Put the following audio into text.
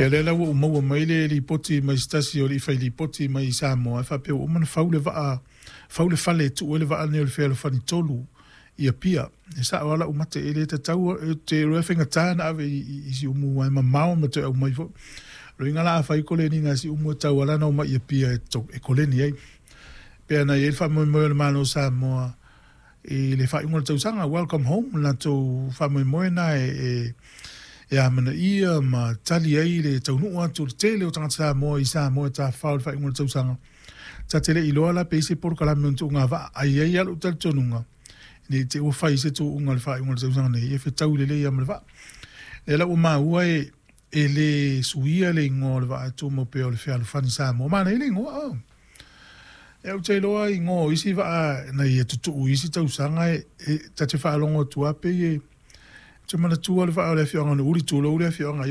Ia lea la ua ou maua mai le lipoti mai se tasi o alii fai lipoti mai Samoa e faapea ua uma ona fau le vaa, fau le fale e tuu ai le vaa lenei o le Fealofani 3 i Apia. E sao lava lau mate, e le tatau, ou te iloa e faigata ona ave i Siumu aua e mamao ma toe aumai foi. O lona uiga la a fai koleniga a Siumu e tatau lava la ona omai i Apia e koleni ai. Pei ona i ai le faamoemoe o le Malo o Samoa i le faaiuga o le tausaga, welcome home, le latou faamoemoe lena e amanaia ma tali ai le taunuu atu o le tele o tagata Samoa i Samoa e tafafao i le faaiuga o le tausaga. Ta te le i iloa la pe i ai se polokalame o ni tuuga vaa, ae i ai lava lou talitonuga, ne i te i ua fai se tuuga i le faaiuga o le tausaga nei, e fetaui lelei lava ma le vaa. O lea la ua maua e le suia le igoa o le vaa e tumau pea o le Fealofani Samoa. Manaia le igoa, oh. Ou te iloa igoa o isi vaa na ia tutuu i isi tausaga ta te faalogo atu lava pei e… Ou te manatua le vaa o le afioaga o Nuuuli, tulou le afioaga,